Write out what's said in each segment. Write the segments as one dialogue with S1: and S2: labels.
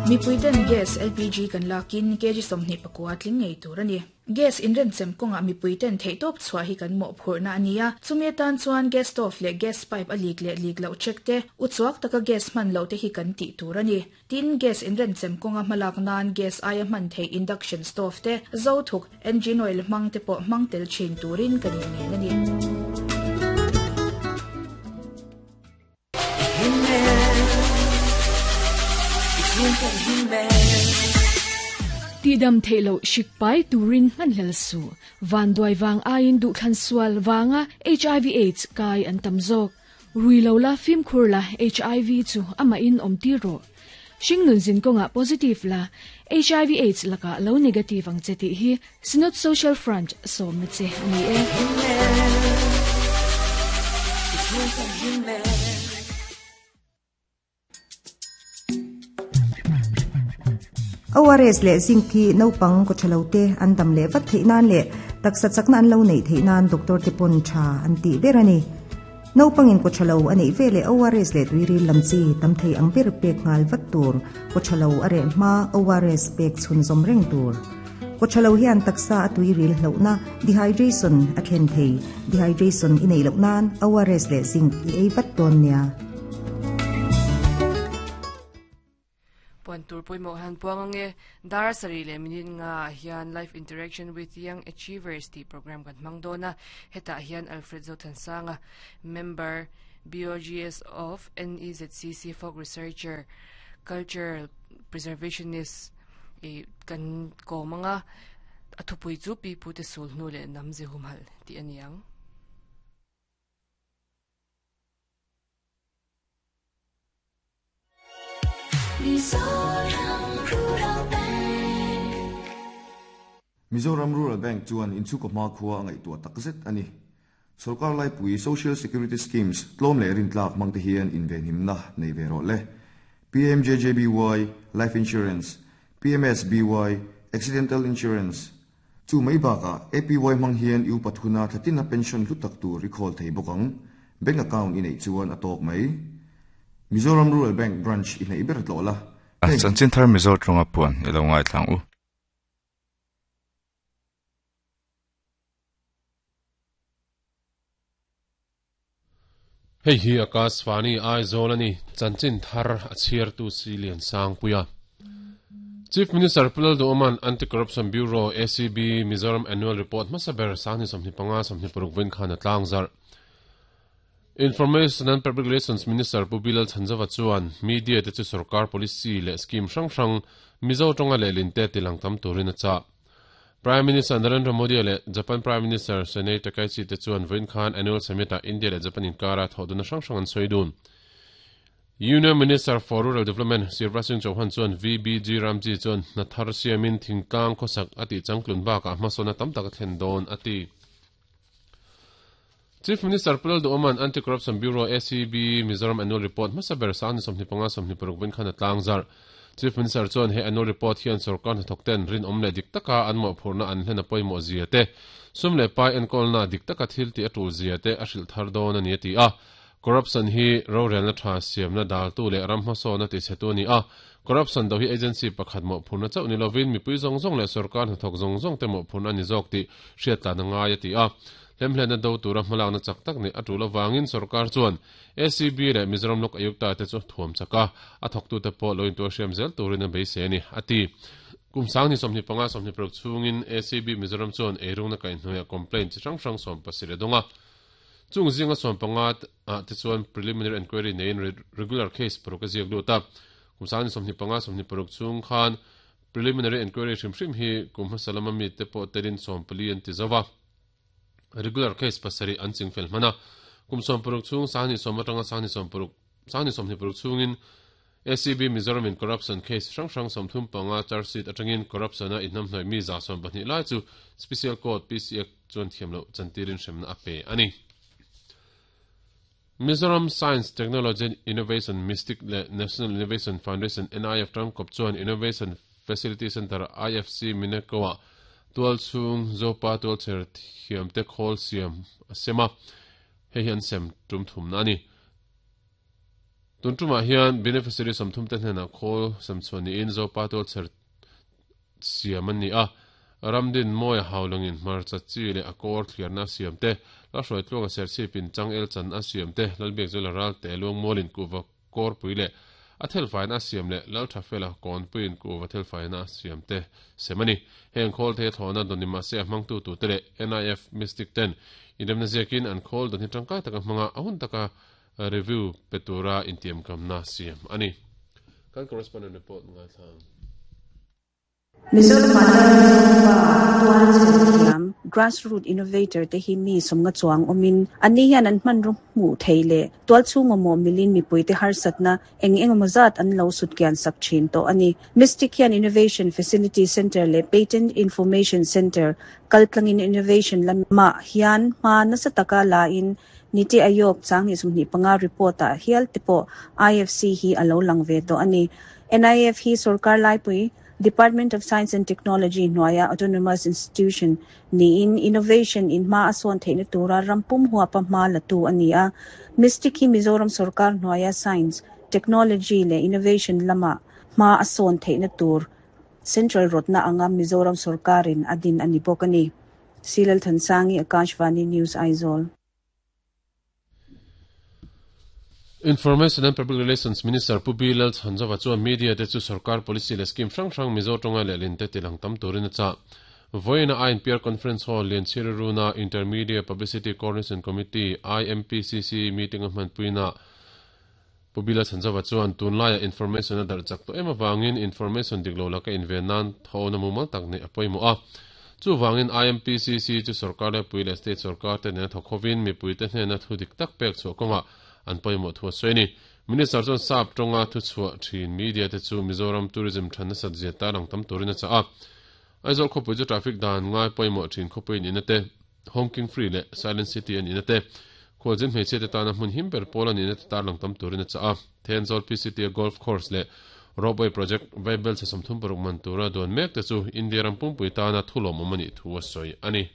S1: Mipuiten gas, LPG, kan lakin kg 24 tling ngei tur a ni. Gas inrenchem kawngah mipuiten theihtawp chhuah hi kan mawhphurhna a ni a, chumi atan chuan gas stove leh gas pipe a lik leh lik loh check te, uchuak taka gas hman loh te hi kan tih tur a ni. Tin, gas inrenchem kawnga hmalak nan gas aia hman theih induction stove te, zo thuk, engine oil hmang te pawh hmang tel thin turin kan inngen a ni.
S2: Tihdam theih loh hrik pai turin hmanhlel suh. Vanduai vang aiin duhthlan sual vanga hiv aids kai an tam zawk. Rui lo la, fimkhur la, hiv chu amahin awm tir rawh. Hringnun zin kawngah positive la, hiv aids lakah lo negative ang che tih hi Synod Social Front sawmna che a ni e.
S3: ORS leh zinc hi naupang kawthalo te an dam leh vat theih nan leh taksa chakna an lo neih theih nan doctor te pawn tha an tih ber a ni. Naupangin kawthalo a neih veleh ORS leh tuiril lam chi tam thei ang ber pek nghal vat tur, kawthalo a reh hma ORS pek chhunzawm reng tur. Kawthalo hian taksa a tuiril hlauhna, dehydration, a thlen thei. Dehydration i neih loh nan ORS leh zinc i ei vat dawn nia.
S4: Puan tur pawimawh han puang ange. Dar sarih leh minute nga ah hian Life Interaction with Young Achievers tih program kan hmang dawn a. Hetah hian Alfred Zothansanga, Member, BOGS of NEZCC Folk Researcher, Cultural Preservationist i kan kawm anga a thupui chu Pi Pute Sul hnu leh Nam Ze Humhalh tih a ni ang.
S5: Mizoram Rural Bank chuan inchhungkaw hmakhua a ngaihtuah takzet a ni. Sorkar laipui Social Security Schemes tlawm leh rintlak hmangte hian invenhimna nei ve rawh le. PMJJBY, Life Insurance, PMSBY, Accidental Insurance, Chu mai bakah APY hmang hian i upat huna thlatina pension hlu tak tur i khawl thei bawk ang. Bank account i neih chuan a tawk mai. Mizoram Rural Bank branch i hnaih ber tlawh la. Hei.
S6: Chanchin thar Mizo tawnga puan i lo ngaithlang u.
S7: Hei hi Akashvani Aizawl a ni, chanchin thar a chhiartu si Lian Sangpuia. Chief Minister Pu Lalduhawma'n Anti-Corruption Bureau, ACB, Mizoram Annual Report hmasa ber Sangni 25 26 vawiin khan a tlangzarh. Information and Public Relations Minister Pu Bilal Chhanzova chuan media te chu sorkar policy leh scheme hrang hrang Mizo tawnga lehlin te tilang tam turin a chah. Prime Minister Narendra Modi leh Japan Prime Minister Sanae Takaichi te chuan vawiin khan Annual Summit-ah India leh Japan inkara thawhdunna hrang hrang an sawi dun. Union Minister for Rural Development Shivraj Singh Chauhan chuan VBG Ramji chuan hna thar siamin thingtlang khawsak a tih changtlun bakah hmasawnna tam tak a thlen dawn a ti. Chief Minister Pu Lalduhawma'n Anti-Corruption Bureau, ACB, Mizoram Annual Report hmasa ber 25 26 vawiin khan a tlangzarh. Chief Minister chuan he Annual Report hian sorkar hnathawkten rinawm leh dik taka an mawhphurhna an hlen a pawimawh zia te, sum leh pai enkawlna dik taka thil tih a tul zia te a hrilh thar dawn a ni a ti a. Corruption hi rorelna tha siamna daltu leh ram hmasawna tichhetu a ni a, corruption do hi agency pakhat mawhphurhna chauh ni lovin mipui zawng zawng leh sorkar hnathawk zawng zawngte mawhphurhna a ni zawk tih hriattlan a ngai a ti a. Hlemhlenna do tura hmalakna chak tak neih a tul avangin sorkar chuan ACB leh Mizoram Lok Ayukta te chu thuam chak a, a thawktute pawh lo intuar hriam zel turin a beisei a ni, a ti. Kum 2025 26 chhungin ACB Mizoram chuan eirungna kaihhnuaiah complaint chi hrang hrang 17 a dawng a. Chung zinga 15 ah te chuan preliminary enquiry neiin regular case paruk a ziak lut a. Kum 2025 26 chhung khan preliminary enquiry hrim hrim hi kum hmasa lama mite pawh telin 14 an ti zo va. Regular case pasarih an chingfel hman a, kum 60 chhung 20 atanga 20 26 chhungin ACB Mizoram in corruption case hrang hrang 35 charge sheet atangin corruption a inhnamhnawih mi 120 lai chu Special Court PC Act chuan thiam loh chantirin hremna a pe a ni. Mizoram Science, Technology and Innovation, MISTIC, leh National Innovation Foundation, NIF, tangkawp chuan Innovation Facility Centre, IFC, Mineko-ah tualchhung Zopa tualchher thiamte khawl siam a sem a, hei hi an sem tum thumna a ni. Tun tumah hian beneficiary 30 te hnenah khawl semchhuah niin Zopa tualchher siam an ni a, Ramdin Mawia haulangin hmarcha chi leh a kawr thliarna a siam te, Lalhruaitluanga serchhipin changel chan a siam te, Lalbiakzuala Ralte Luangmualin kuhva kawrpui leh a thelfaina a siam leh Lalthafela Kawnpuiin kuhva thelfaina a siam te sem a ni. Heng khawl thei a thlawhna dawn ni mahse a hmangtu tute leh NIF Mystic ten inremna ziakin an khawl dawn hi tangkai taka hmanga a hun taka review pe tura intiamkamna siam a ni. Kan correspondent report ngaithla ang.
S8: Mizoramah hian Mizopa tual chher thiam, grassroot innovator, te hi mi sawmnga chuang awmin anni hian an hmanraw hmuh thei leh tual chhung awmawh milin mipuite harsatna eng engemaw zat an lo sutkian sak thin tawh a ni. Mystic hian Innovation Facility Centre leh Patent Information Centre kaltlangin innovation lamah hian hma nasa taka lain Niti Aayog changhnih 25 report-ah hial te pawh IFC hi a lo lang ve tawh a ni. NIF hi sorkar laipui, Department of Science and Technology hnuaia autonomous institution niin innovation in hma a sawn theihna tura ram pum huapa hma latu a ni a. Mystic hi Mizoram sorkar hnuaia science, technology leh innovation lama hma a sawn theihna tur central rawtna anga Mizoram sorkarin a din a ni bawk a ni. Silal Thansangi, Akashvani News, Aizawl.
S7: Information and Public Relations Minister Pu B. Lalchhanzova chuan media te chu sorkar policy leh scheme hrang hrang Mizo tawnga lehlin te tilang tam turin a chah. Vawiina INPR Conference Hall Lianchhiri Runa Intermedia Publicity Coordination Committee, IMPCC, meeting a hmanpuina Pu B. Lalchhanzova chuan tunlaiah information a darh chak tawh em avangin information dik lo laka inven nan thawn a mumal tak neih a pawimawh a. Chuvangin IMPCC chu sorkar lepui leh state sorkar te nena thawk hovin mipuite hnena thu dik tak pek chhuah kawngah an pawimawh thu a sawi a ni. Minister chuan sap tawnga thu chhuah thin media te chu Mizoram tourism than nasat zia tarlang tam turin a chah a. Aizawl khawpui chu traffic dan ngai pawimawh thin khawpui an ina te, Honking Free leh Silent City an ina te, khualzin hmeichhia te tana hmun him ber pawl an ina te tarlang tam turin a chah a. Thenzawl PCT a Golf Course leh Ropeway Project Vaibel chhe 36 man tura duan mek te chu India ram pumpui tana thu lawmawm a nih thu a sawi a ni.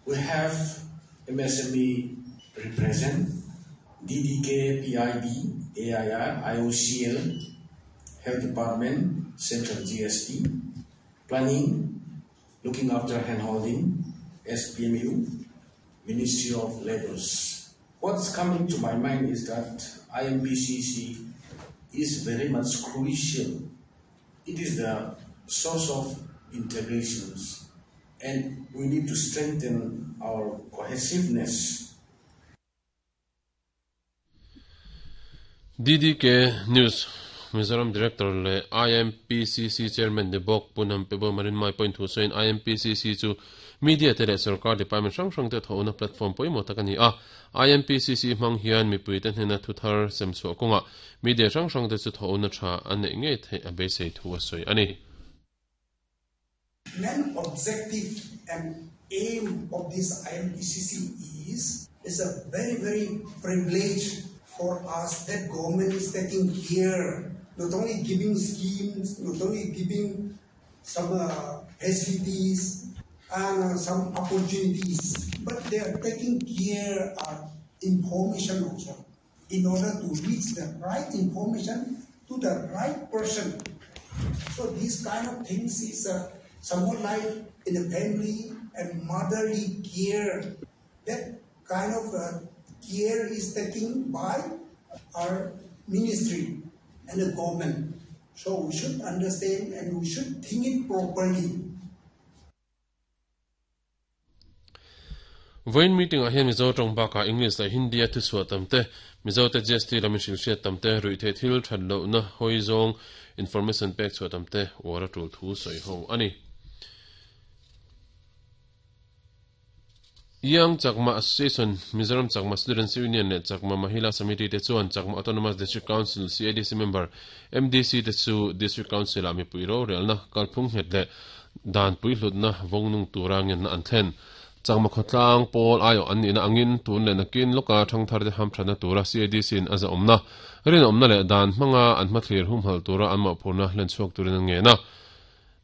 S9: We have MSME represent, DDK, PIB, AIR, IOCL, Health Department, Central GST, Planning, Looking after handholding, SPMU, Ministry of Labours. What's coming to my mind is that IMPCC is very much crucial. It is the source of integrations and we need to strengthen our cohesiveness.
S7: DDK News Mizoram Director leh IMPCC Chairman ni bawk Pu Nampebo Marinmai pawhin thu sawiin IMPCC chu media te leh sorkar department hrang hrang te thawhna platform pawimawh tak a ni a. IMPCC hmang hian mipuite hnena thu thar sem chhuah kawngah media hrang hrang te chu thawhna tha a neih ngei theih a beisei thu a sawi a ni.
S10: Main objective and aim of this IMPCC is is a very very privilege for us that government is taking care, not only giving schemes, not only giving some uh, facilities and uh, some opportunities, but they are taking care of information also in order to reach the right information to the right person. So these kind of things is uh, somewhat like in a family and motherly care. That kind of uh, care is taken by our ministry and the government. So we should understand and we should think it properly.
S7: Vawiin meeting-ah hian Mizo tawng bakah English leh Hindi-a thuchhuah tam te, Mizote GST lam inhrilhhriat tam te, ruihtheih thil that lohna hawi zawng information pek chhuah tam te uar a tul thu sawi ho a ni. Young Chakma Association, Mizoram Chakma Students Union leh Chakma Mahila Samiti te chuan Chakma Autonomous District Council, CADC member, MDC te chu District Council-ah mipui rorelna kalphung nghet leh Dan puihlutna vawngnung tura ngenna an thlen. Chakma khawtlang pawl aiawh an nihna angin tun leh nakin lawka thangtharte hamthatna tura CADC-in a zahawmna, rinawmna leh dan hmanga an hmathlir humhalh tura an mawhphurhna hlen chhuak turin an ngen a.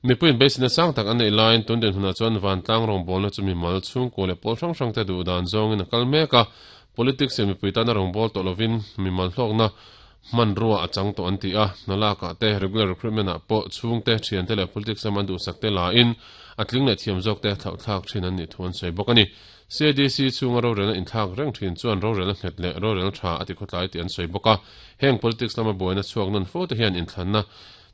S7: Mipuiin beiseina sang tak an neih laiin tun dinhmunah chuan vantlang rawngbawlna chu mimal, chhungkua leh pawl hrang hrangte duh dan zawngin a kal mek a. Politics in mipui tana rawngbâwl tawh lovin mimal hlawkna hmanrua a chang tawh an ti a, hna lakah te, regular recruitment ah pawh chhungte, thiante leh politics lama an duhsak te lain a tling leh thiam zawk te thlauhthlak thin an nih thu an sawi bawk a ni. CADC chhunga rorelna inthlak reng thin chuan rorelna nghet leh rorelna tha a ti khawtlai tih an sawi bawk a, heng politics lama buaina chhuak nawn fo te hian inthlanna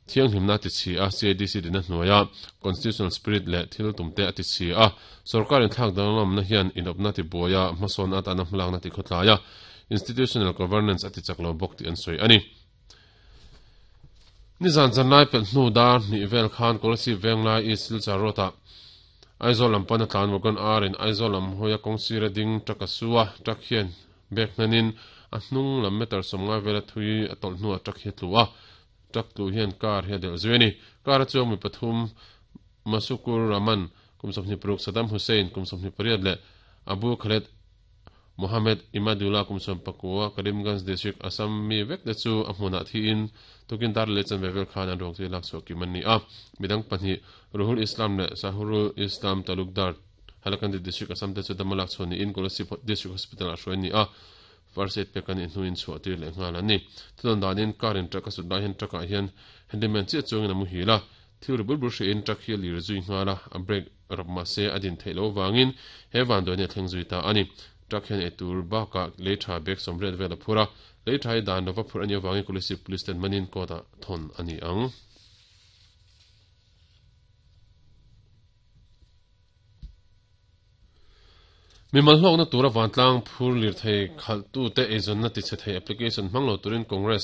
S7: Thianghlimna a ti chhi a, CADC dina hnuaia constitutional spirit leh thil tumte a ti chhi a, sorkar inthlak danglamna hian inawpna ti buai a, hmasawn atana hmalakna ti khawtlai a, institutional governance a ti chak lo bawk tih an sawi a ni. Nizan zanlai pelh hnu dar hnih vel khan Kolasib Venglai East Silchar Road-ah Aizawl lam pana tlan wagon ar in Aizawl lam hawia kawng sira ding truck a su a, truck hian bag hnanin a hnung lam meter 50 vela thui a tawlh hnuah truck hi a tlu a, Truck tlu hian car hi a delh zui a ni. Car a chuang mi pathum, Masukur Rahman, kum 26, Saddam Hussein, kum 28 leh Abu Khaled Mohammed Imadullah, kum 19, Karimganj District, Assam mi vek te chu a hmunah thiin tukin dar leh chanve vel khan an ruang chu lak chhuah kim an ni a. Midang pahnih, Ruhul Islam leh Sahurul Islam Talukdar, Hailakandi District, Assam te chu dama lak chhuah niin Kolasib District Hospital-ah hruai an ni a. First aid pek a nih hnuin chhuah tir leh nghal an ni. Thudawn danin car in truck a sut lai hian truck ah hian handyman chiah chuangin a muhil a, thil ri bur bur hriain truck hi a lir zui nghal a, a brake rap mahse a din theih loh avangin he vanduai hi a thleng zui ta a ni. Truck hian eitur bakah lei tha bag 80 vel a phur a, lei tha hi dan lova phurh a nih avangin Kolasib Police ten manin court ah thawn a ni ang. Mimal hlawkna tura vantlang phur lirthei khalhtute eizawnna tichhe thei application hmang lo turin Congress.